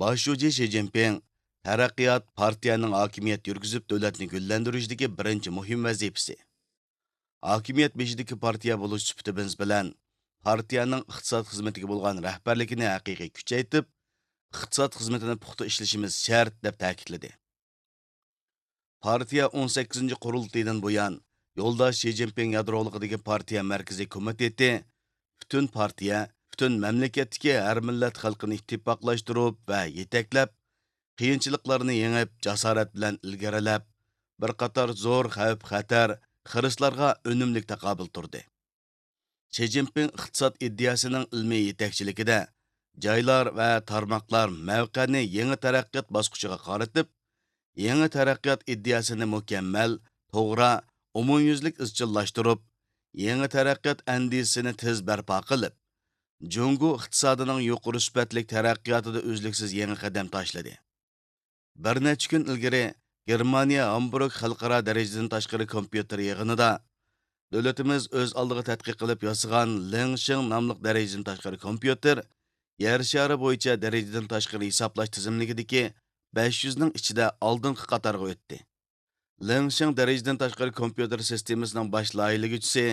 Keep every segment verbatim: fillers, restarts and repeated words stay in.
باش شۇجى شى جىنپىڭ، تەرەققىيات پارتىيەنىڭ ھاكىمىيەت يۈرگۈزۈپ، دۆلەتنى گۈللەندۈرۈشتىكى بىرىنچى مۇھىم ۋەزىپىسى. ھاكىمىيەت بېشىدىكى پارتىيە بولۇش سۈپىتىمىز بىلەن، پارتىيەنىڭ ئىقتىساد خىزمىتىگە بولغان رەھبەرلىكىنى ھەقىقىي كۈچەيتىپ، ئىقتىساد خىزمىتىنى پۇختا ئىشلىشىمىز شەرت، دەپ تەكىتلىدى. پارتىيە ئون سەككىزىنچى قۇرۇلتىيىدىن بۇيان، يولداش شى جىنپىڭ يادرولۇقىدىكى پارتىيە مەركىزىي كومىتېتى پۈتۈن پارتىيە، پۈتۈن مەملىكەتتىكى ھەر مىللەت خەلقىنى ئىتتىپاقلاشتۇرۇپ ۋە يېتەكلەپ، قىيىنچىلىقلارنى يېڭىپ، جاسارەت بىلەن ئىلگىرىلەپ، بىر قاتار زور خەۋپ-خەتەر، خىرىسلارغا ئۈنۈملۈك تاقابىل تۇردى. شى جىنپىڭ ئىقتىساد ئىدىيەسىنىڭ ئىلمىي يېتەكچىلىكىدە جايلار ۋە تارماقلار مەۋقەنى يېڭى تەرەققىيات باسقۇچىغا قارىتىپ، يېڭى تەرەققىيات ئىدىيەسىنى مۇكەممەل، توغرا، ئومۇميۈزلۈك ئىزچىللاشتۇرۇپ، يېڭى تەرەققىيات ئەندىزىسىنى تېز بەرپا قىلىپ، جۇڭگو ئىقتىسادىنىڭ يۇقىرى سۈپەتلىك تەرەققىياتىدا ئۈزلۈكسىز يېڭى قەدەم تاشلىدى. بىر نەچچە كۈن ئىلگىرى گېرمانىيە ھامبۇرگ خەلقئارا دەرىجىدىن تاشقىرى كومپيۇتېر يىغىنىدا دۆلىتىمىز ئۆز ئالدىغا تەتقىق قىلىپ ياسىغان لېڭشىڭ ناملىق دەرىجىدىن تاشقىرى كومپيۇتېر يەر شارى بويىچە دەرىجىدىن تاشقىرى ھېسابلاش تىزىملىكىدىكى بەش يۈزنىڭ ئىچىدە ئالدىنقى قاتارغا ئۆتتى. لېڭشىڭ دەرىجىدىن تاشقىرى كومپيۇتېر سىستېمىسىنىڭ باش لايىھىلىگۈچىسى،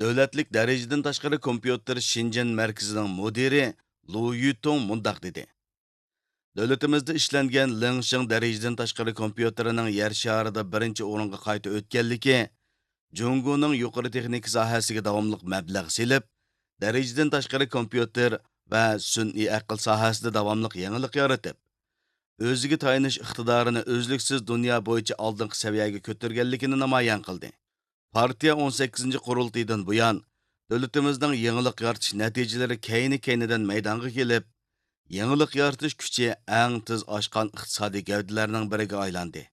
دۆلەتلىك دەرىجىدىن تاشقىرى كومپيۇتېر شېنجېن مەركىزىنىڭ مۇدىرى لۇ يۈتۇڭ مۇنداق دېدى: دۆلىتىمىزدە ئىشلەنگەن لېڭشىڭ دەرىجىدىن تاشقىرى كومپيۇتېرىنىڭ يەر شارىدا بىرىنچى ئورۇنغا قايتا ئۆتكەنلىكى، جۇڭگونىڭ يۇقىرى تېخنىكا ساھەسىگە داۋاملىق مەبلەغ سېلىپ، دەرىجىدىن تاشقىرى كومپيۇتېر ۋە سۈنئىي ئەقىل ساھەسىدە داۋاملىق يېڭىلىق يارىتىپ، ئۆزىگە تايىنىش ئىقتىدارىنى ئۈزلۈكسىز دۇنيا بويىچە ئالدىنقى سەۋىيەگە كۆتۈرگەنلىكىنى نامايان قىلدى. پارتىيە ئون سەككىزىنچى قۇرۇلتىيىدىن بۇيان، دۆلىتىمىزنىڭ يېڭىلىق يارىتىش نەتىجىلىرى كەينى-كەينىدىن مەيدانغا كېلىپ، يېڭىلىق يارىتىش كۈچى ئەڭ تېز ئاشقان ئىقتىسادىي گەۋدىلەرنىڭ بىرىگە ئايلاندى.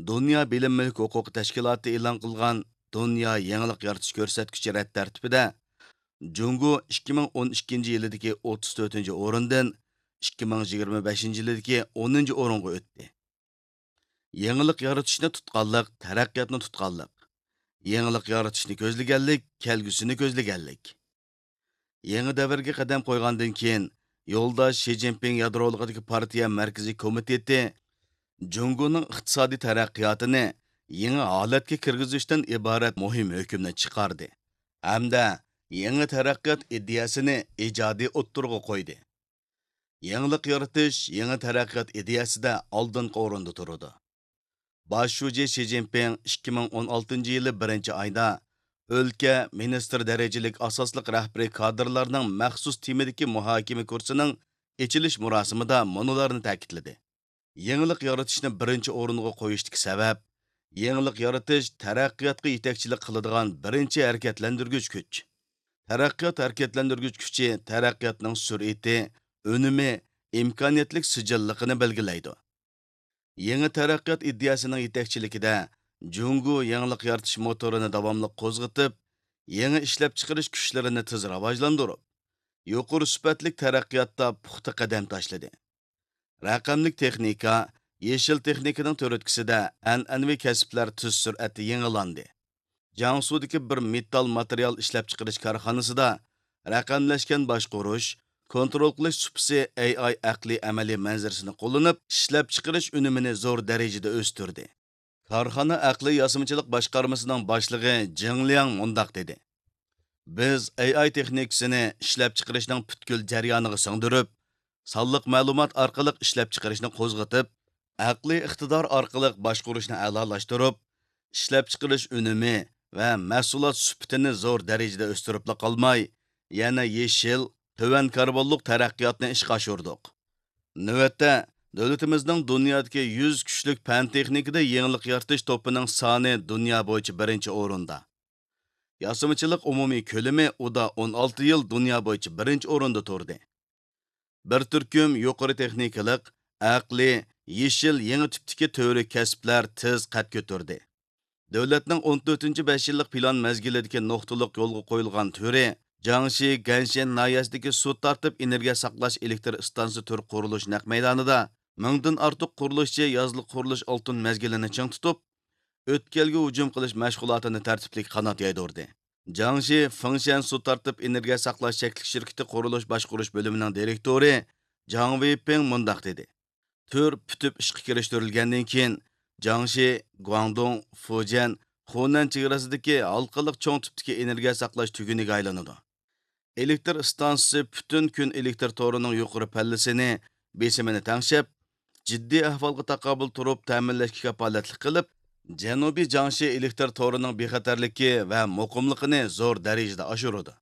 دۇنيا بىلىم مۈلۈك ھوقۇقى تەشكىلاتى ئېلان قىلغان دۇنيا يېڭىلىق يارىتىش كۆرسەتكۈچى رەت تەرتىپىدە، جۇڭگو ئىككى مىڭ ئون ئىككىنچى يىلىدىكى ئوتتۇز تۆتىنچى ئورۇندىن ئىككى مىڭ يىگىرمە بەشىنچى يىلىدىكى ئونىنچى ئورۇنغا ئۆتتى. يېڭىلىق يارىتىشنى تۇتقانلىق، تەرەققىياتنى تۇتقانلىق. يېڭىلىق يارىتىشنى كۆزلىگەنلىك، كەلگۈسىنى كۆزلىگەنلىك. يېڭى دەۋرگە قەدەم قويغاندىن كېيىن، يولداش شى جىنپىڭ يادرولۇقىدىكى پارتىيە مەركىزىي كومىتېتى جۇڭگونىڭ ئىقتىسادىي تەرەققىياتىنى يېڭى ھالەتكە كىرگۈزۈشتىن ئىبارەت مۇھىم ھۆكۈمنى چىقاردى ھەمدە يېڭى تەرەققىيات ئىدىيەسىنى ئىجادىي ئوتتۇرىغا قويدى. يېڭىلىق يارىتىش يېڭى تەرەققىيات ئىدىيەسىدە ئالدىنقى ئورۇندا تۇرىدۇ. باش شۇجى شى جىنپىڭ ئىككى مىڭ ئون ئالتىنچى يىلى بىرىنچى ئايدا ئۆلكە، مىنىستىر دەرىجىلىك ئاساسلىق رەھبىرىي كادىرلارنىڭ مەخسۇس تېمىدىكى مۇھاكىمە كۇرسىنىڭ ئېچىلىش مۇراسىمىدا مۇنۇلارنى تەكىتلىدى: يېڭىلىق يارىتىشنى بىرىنچى ئورۇنغا قويۇشتىكى سەۋەب، يېڭىلىق يارىتىش تەرەققىياتقا يېتەكچىلىك قىلىدىغان بىرىنچى ھەرىكەتلەندۈرگۈچ كۈچ. تەرەققىيات ھەرىكەتلەندۈرگۈچ كۈچى تەرەققىياتنىڭ سۈرئىتى، ئۈنۈمى، ئىمكانىيەتلىك سىجىللىقىنى بەلگىلەيدۇ. يېڭى تەرەققىيات ئىدىيەسىنىڭ يېتەكچىلىكىدە، جۇڭگو يېڭىلىق يارىتىش موتورىنى داۋاملىق قوزغىتىپ، يېڭى ئىشلەپچىقىرىش كۈچلىرىنى تېز راۋاجلاندۇرۇپ، يۇقىرى سۈپەتلىك تەرەققىياتتا پۇختا قەدەم تاشلىدى. رەقەملىك تېخنىكا، يېشىل تېخنىكىنىڭ تۈرتكىسىدە ئەنئەنىۋى كەسىپلەر تېز سۈرئەتتە يېڭىلاندى. جياڭسۇدىكى بىر مېتال ماتېرىيال ئىشلەپچىقىرىش كارخانىسىدا رەقەملەشكەن باشقۇرۇش، كونترول قىلىش سۇپىسى ئەي ئاي ئەقلىي ئەمەلىي مەنزىرىسىنى قوللىنىپ، ئىشلەپچىقىرىش ئۈنۈمىنى زور دەرىجىدە ئۆستۈردى. كارخانا ئەقلىي ياسىمىچىلىق باشقارمىسىنىڭ باشلىقى جېڭ لياڭ مۇنداق دېدى: بىز ئەي ئاي تېخنىكىسىنى ئىشلەپچىقىرىشنىڭ پۈتكۈل جەريانىغا سىڭدۈرۈپ، سانلىق مەلۇمات ئارقىلىق ئىشلەپچىقىرىشنى قوزغىتىپ، ئەقلىي ئىقتىدار ئارقىلىق باشقۇرۇشنى ئەلالاشتۇرۇپ، ئىشلەپچىقىرىش ئۈنۈمى ۋە مەھسۇلات سۈپىتىنى زور دەرىجىدە ئۆستۈرۈپلا قالماي، يەنە يېشىل، تۆۋەن كاربونلۇق تەرەققىياتنى ئىشقا ئاشۇردۇق. نۆۋەتتە، دۆلىتىمىزنىڭ دۇنيادىكى يۈز كۈچلۈك پەن-تېخنىكىدا يېڭىلىق يارىتىش توپىنىڭ سانى دۇنيا بويىچە بىرىنچى ئورۇندا. ياسىمىچىلىق ئومۇمىي كۆلىمى ئۇدا ئون ئالتە يىل دۇنيا بويىچە بىرىنچى ئورۇندا تۇردى. بىر تۈركۈم يۇقىرى تېخنىكىلىق، ئەقلىي، يېشىل يېڭى تىپتىكى تۈۋرۈك كەسىپلەر تېز قەد كۆتۈردى. دۆلەتنىڭ ئون تۆتىنچى بەش يىللىق پىلان مەزگىلىدىكى نۇقتىلىق يولغا قويۇلغان تۈرى، جياڭشى گەنشەن ناھىيەسىدىكى سۇ تارتىپ ئېنېرگىيە ساقلاش ئېلېكتر ئىستانسىسى تۈر قۇرۇلۇش نەق مەيدانىدا مىڭدىن ئارتۇق قۇرۇلۇشچى يازلىق قۇرۇلۇش ئالتۇن مەزگىلىنى چىڭ تۇتۇپ، ئۆتكەلگە ھۇجۇم قىلىش مەشغۇلاتىنى تەرتىپلىك قانات يايدۇردى. جياڭشى فېڭشيەن سۇ تارتىپ ئېنېرگىيە ساقلاش چەكلىك شىركىتى قۇرۇلۇش باشقۇرۇش بۆلۈمىنىڭ دىرېكتورى جاڭ ۋېيپىڭ مۇنداق دېدى: تۈر پۈتۈپ ئىشقا كىرىشتۈرۈلگەندىن كېيىن، جياڭشى، گۇاڭدۇڭ، فۇجيەن، خۇنەن چېگراسىدىكى ھالقىلىق چوڭ تىپتىكى ئېنېرگىيە ساقلاش تۈگۈنىگە ئايلىنىدۇ. ئېلېكتر ئىستانسىسى پۈتۈن كۈن ئېلېكتر تورىنىڭ يۇقىرى پەللىسىنى، بېسىمىنى تەڭشەپ، جىددىي ئەھۋالغا تاقابىل تۇرۇپ تەمىنلەشكە كاپالەتلىك قىلىپ، جەنۇبىي جياڭشى ئېلېكتر تورىنىڭ بىخەتەرلىكى ۋە مۇقىملىقىنى زور دەرىجىدە ئاشۇرىدۇ.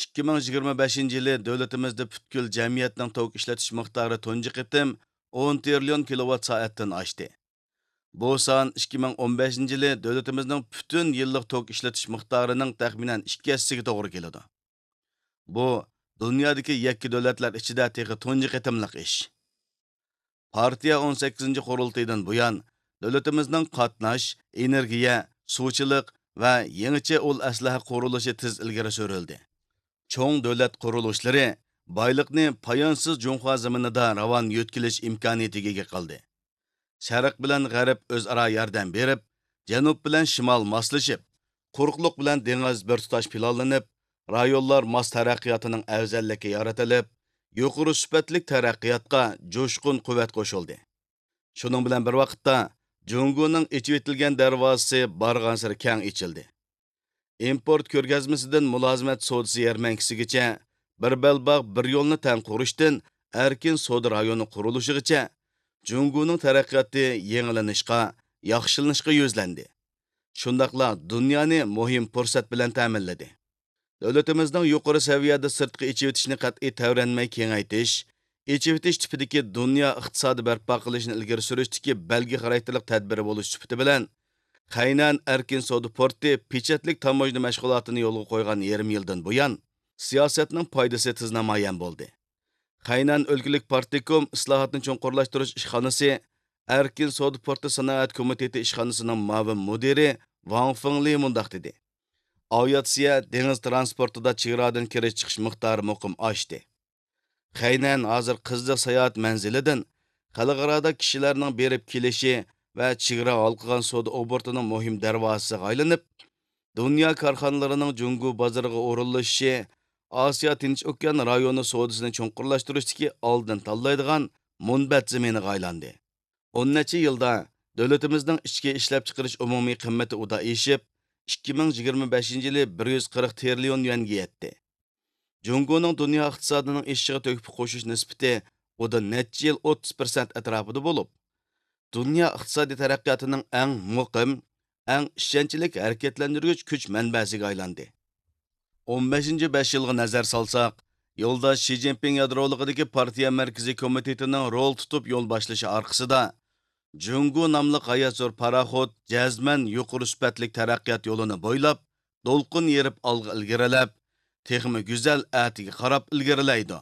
ئىككى مىڭ يىگىرمە بەشىنچى يىلى دۆلىتىمىزدە پۈتكۈل جەمئىيەتنىڭ توك ئىشلىتىش مىقدارى تۇنجى قېتىم ئون تىرىليون كىلوۋات سائەتتىن ئاشتى. بۇ سان ئىككى مىڭ ئون بەشىنچى يىلى دۆلىتىمىزنىڭ پۈتۈن يىللىق توك ئىشلىتىش مىقدارىنىڭ تەخمىنەن ئىككى ھەسسىسىگە توغرا كېلىدۇ. بۇ، دۇنيادىكى يەككە دۆلەتلەر ئىچىدە تېخى تۇنجى قېتىملىق ئىش. پارتىيە ئون سەككىزىنچى قۇرۇلتىيىدىن بۇيان، دۆلىتىمىزنىڭ قاتناش، ئېنېرگىيە، سۇچىلىق ۋە يېڭىچە ئۇل ئەسلىھە قۇرۇلۇشى تېز ئىلگىرى سۈرۈلدى. چوڭ دۆلەت قۇرۇلۇشلىرى بايلىقنى پايانسىز جۇڭخۇا زېمىنىدا راۋان يۆتكىلىش ئىمكانىيىتىگە ئىگە قىلدى. شەرق بىلەن غەرب ئۆزئارا ياردەم بېرىپ، جەنۇب بىلەن شىمال ماسلىشىپ، قۇرۇقلۇق بىلەن دېڭىز بىر تۇتاش پىلانلىنىپ، رايونلار ماس تەرەققىياتىنىڭ ئەۋزەللىكى يارىتىلىپ، يۇقىرى سۈپەتلىك تەرەققىياتقا جۇشقۇن قۇۋۋەت قوشۇلدى. شۇنىڭ بىلەن بىر ۋاقىتتا، جۇڭگونىڭ ئېچىۋېتىلگەن دەرۋازىسى بارغانسېرى كەڭ ئېچىلدى. ئىمپورت كۆرگەزمىسىدىن مۇلازىمەت سودىسى يەرمەنكىسىگىچە، بىر بەلباغ، بىر يولنى تەڭ قۇرۇشتىن ئەركىن سودا رايونى قۇرۇلۇشىغىچە، جۇڭگونىڭ تەرەققىياتى يېڭىلىنىشقا، ياخشىلىنىشقا يۈزلەندى. شۇنداقلا دۇنيانى مۇھىم پۇرسەت بىلەن تەمىنلىدى. دۆلىتىمىزنىڭ يۇقىرى سەۋىيەدە سىرتقا ئېچىۋېتىشنى قەتئىي تەۋرەنمەي كېڭەيتىش، ئېچىۋېتىش تىپىدىكى دۇنيا ئىقتىسادى بەرپا قىلىشنى ئىلگىرى سۈرۈشتىكى بەلگە خاراكتېرلىك تەدبىرى بولۇش سۈپىتى بىلەن، خەينەن ئەركىن سودا پورتى پېچەتلىك تاموژنا مەشغۇلاتىنى يولغا قويغان يېرىم يىلدىن بۇيان، سىياسەتنىڭ پايدىسى تېز نامايان بولدى. خەينەن ئۆلكىلىك پارتكوم ئىسلاھاتنى چوڭقۇرلاشتۇرۇش ئىشخانىسى ئەركىن سودا پورتى سانائەت كومىتېتى ئىشخانىسىنىڭ مۇئاۋىن مۇدىرى ۋاڭ فېڭلى مۇنداق دېدى: ئاۋىئاتسىيە، دېڭىز ترانسپورتىدا چېگرادىن كىرىش چىقىش مىقدارى مۇقىم ئاشتى. خەينەن ھازىر قىزىق ساياھەت مەنزىلىدىن خەلقئارادا كىشىلەرنىڭ بېرىپ كېلىشى ۋە چېگرا ھالقىغان سودا ئوبوروتىنىڭ مۇھىم دەرۋازىسىغا ئايلىنىپ، دۇنيا كارخانىلىرىنىڭ جۇڭگو بازىرىغا ئورۇنلىشىشى ئاسىيا تىنچ ئوكيان رايونى سودىسىنى چوڭقۇرلاشتۇرۇشتىكى ئالدىن تاللايدىغان مۇنبەت زېمىنىغا ئايلاندى. ئون نەچچە يىلدا دۆلىتىمىزنىڭ ئىچكى ئىشلەپچىقىرىش ئومۇمىي قىممىتى ئۇدا ئېشىپ، ئىككى مىڭ يىگىرمە بەشىنچى يىلى بىر يۈز قىرىق تىرىليون يۈەنگە يەتتى. جۇڭگونىڭ دۇنيا ئىقتىسادىنىڭ ئېشىشىغا تۆھپە قوشۇش نىسبىتى ئۇدا نەچچە يىل ئوتتۇز پىرسەنت ئەتراپىدا بولۇپ، دۇنيا ئىقتىسادىي تەرەققىياتىنىڭ ئەڭ مۇقىم، ئەڭ ئىشەنچلىك ھەرىكەتلەندۈرگۈچ كۈچ مەنبەسىگە ئايلاندى. ئون بەشىنچى بەش يىلغا نەزەر سالساق، يولداش شى جىنپىڭ يادرولۇقىدىكى پارتىيە مەركىزىي كومىتېتىنىڭ رول تۇتۇپ يول باشلىشى ئارقىسىدا، جۇڭگو ناملىق غايەت زور پاراخوت جەزمەن يۇقىرى سۈپەتلىك تەرەققىيات يولىنى بويلاپ، دولقۇن يېرىپ ئالغا ئىلگىرىلەپ، تېخىمۇ گۈزەل ئەتىگە قاراپ ئىلگىرىلەيدۇ.